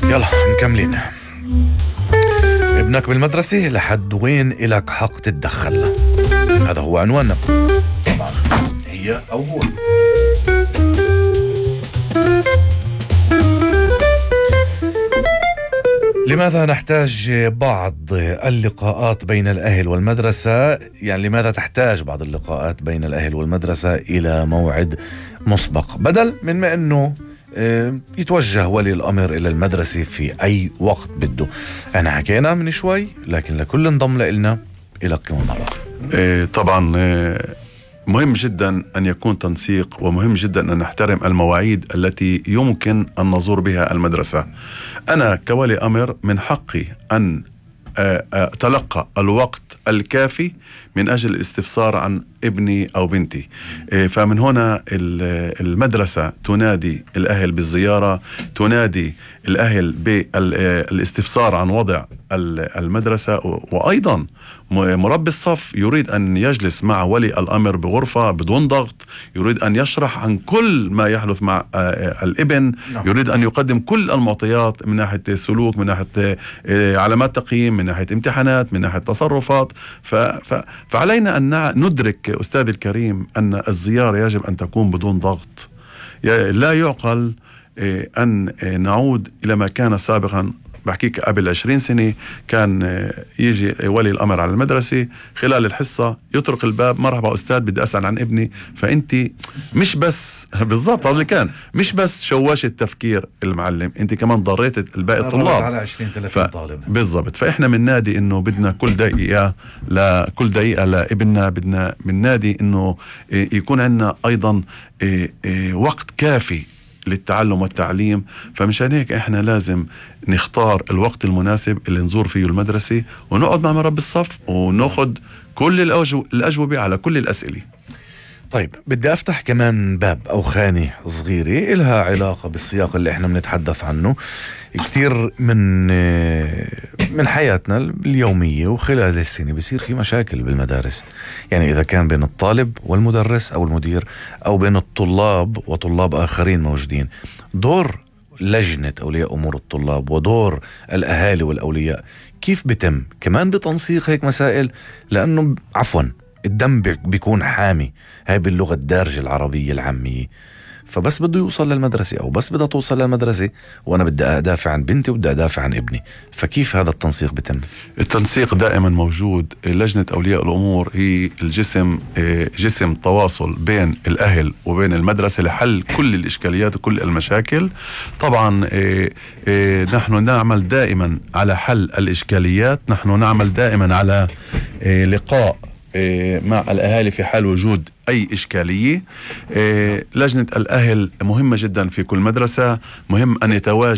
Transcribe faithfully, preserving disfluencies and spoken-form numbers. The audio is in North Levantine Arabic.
يلا مكملين. ابنك بالمدرسة لحد وين إلك حق تتدخل؟ هذا هو عنواننا. طبعا هي أو هو. لماذا نحتاج بعض اللقاءات بين الأهل والمدرسة؟ يعني لماذا تحتاج بعض اللقاءات بين الأهل والمدرسة إلى موعد مسبق بدل من ما أنه يتوجه ولي الأمر إلى المدرسة في أي وقت بده؟ أنا حكينا من شوي، لكن لكل انضم لنا إلى كم مرة. إيه طبعا إيه مهم جدا أن يكون تنسيق، ومهم جدا أن نحترم المواعيد التي يمكن أن نزور بها المدرسة. أنا كولي أمر من حقي أن أتلقى الوقت الكافي من أجل الاستفسار عن ابني أو بنتي. فمن هنا المدرسة تنادي الأهل بالزيارة، تنادي الأهل بالاستفسار عن وضع المدرسة، وأيضا مربي الصف يريد أن يجلس مع ولي الأمر بغرفة بدون ضغط، يريد أن يشرح عن كل ما يحدث مع الابن، يريد أن يقدم كل المعطيات من ناحية سلوك، من ناحية علامات تقييم، من ناحية امتحانات، من ناحية تصرفات. فعلينا أن ندرك أستاذ الكريم أن الزيارة يجب أن تكون بدون ضغط. لا يعقل أن نعود إلى ما كان سابقا. بحكيك قبل عشرين سنة كان يجي ولي الأمر على المدرسة خلال الحصة يطرق الباب، مرحبا أستاذ بدي أسأل عن ابني. فأنت مش بس بالضبط هذا اللي كان، مش بس شواشة تفكير المعلم، أنت كمان ضريت الباقي الطلاب على عشرين ثلاثين طالب. بالضبط. فإحنا من نادي إنه بدنا كل دقيقة لكل دقيقة لابننا، بدنا من نادي إنه يكون عندنا أيضا وقت كافي للتعلم والتعليم. فمشان هيك احنا لازم نختار الوقت المناسب اللي نزور فيه المدرسة، ونقعد مع مربي الصف وناخد كل الأجوبة على كل الأسئلة. طيب بدي أفتح كمان باب أو خانة صغيرة إلها علاقة بالسياق اللي احنا بنتحدث عنه. كتير من من حياتنا اليومية وخلال السنة بيصير في مشاكل بالمدارس، يعني إذا كان بين الطالب والمدرس أو المدير، أو بين الطلاب وطلاب آخرين موجودين. دور لجنة أولياء أمور الطلاب ودور الأهالي والأولياء كيف بتم كمان بتنسيق هيك مسائل؟ لأنه عفوا الدم بيكون حامي، هاي باللغة الدارجة العربية العامية. فبس بده يوصل للمدرسة أو بس بدها توصل للمدرسة وأنا بدي أدافع عن بنتي وبدي أدافع عن ابني. فكيف هذا التنسيق بتم؟ التنسيق دائما موجود. لجنة أولياء الأمور هي الجسم جسم تواصل بين الأهل وبين المدرسة لحل كل الإشكاليات وكل المشاكل. طبعا نحن نعمل دائما على حل الإشكاليات، نحن نعمل دائما على لقاء مع الأهالي في حال وجود أي إشكالية. لجنة الأهل مهمة جدا في كل مدرسة، مهم أن يتواجد